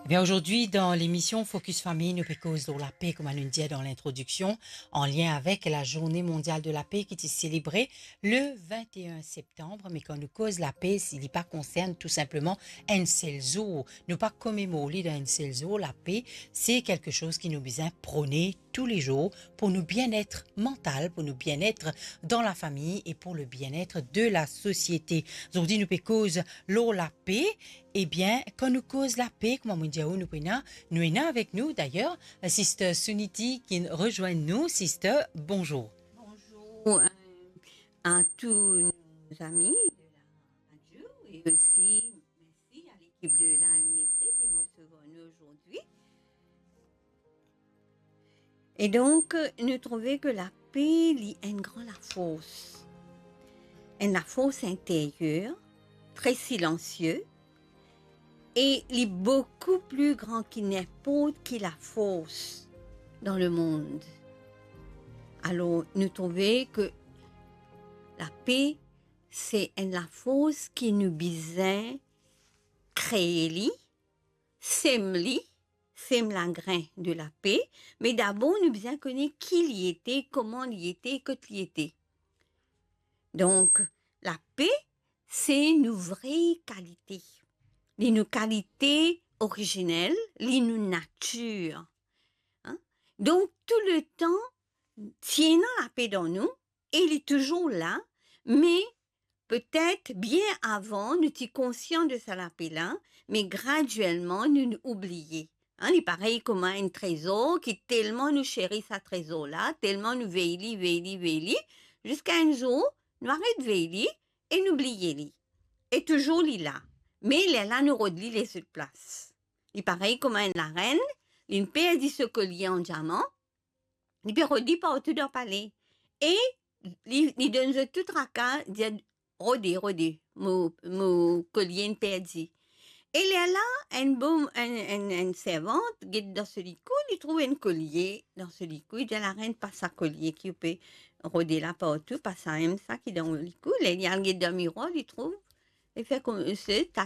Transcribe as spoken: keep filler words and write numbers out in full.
Bien, aujourd'hui, dans l'émission Focus Famille, nou pe koz lor lape, kouma nou dir dan lintrodiksion, an lien avek la Journée Mondiale de la Paix ki ti selebre le vingt et un septembre. Me kan nou koz lape, si li pa konsern tou sinpleman enn sel zour, nou pa komemor li dan enn sel zour. Lape, se kelke soz ki nou bizin prone toulezour pour nou bienet mantal, pour nou bienet dan lafami e pour le bien-être de la société. Zordi, nou pe koz lor lape. Ebien, kan nou koz lape, kouma mo dir ou, nou pe ena, nou ena avek nou, dayer, Sister Suniti ki rezwenn nou. Sister, bonzour. Bonzour, euh, à tous nos amis de la radio et aussi merci à l'équipe de l'A M B C qui nous reçoit nous aujourd'hui. E donk, nou trouve ke lape, li enn gran lafors. Enn lafors interyer, tre silansie, e li boukou pli gran ki ninport ki lafors dan lemond. Alor, nou trouve ke lape, se enn lafors ki nou bizin kree li, sem li, sem lagrin de lape, me dabor nou bizin kone ki li ete, kouma li ete, kot li ete. Donk, lape, se nou vre kalite. Li nou kalite orizinel, li nou natir. Hein? Donk, touletan, ti ena lape dan nou, e li touzour la, me petet bien avan nou ti konsian de sa lape la, me gradielman nou, nou oubliye. Hein, li parey kouma enn trezor ki telman nou seri sa trezor la, telman nou vey li, vey li, vey li, ziska enn zour, nou aret vey li e nou bliye li. E touzour li la. Me lerla nou rod li lezot plas. Li parey kouma enn larenn, linn perdi so kolie an diaman, li pe rod li partou dan pale. E li, li donn zot tou traka, dir, "Rode, rode, mo, mo kolie inn perdi." E lerla, enn bom, enn, enn, enn servant get dan so likou, li trouv enn kolie dan so likou, li dir, "Larenn, pa sa kolie ki ou pe rode la partou, pa samem sa ki dan ou likou." Ler li al get dan mirwar, li trouv, li fer koumsa, tat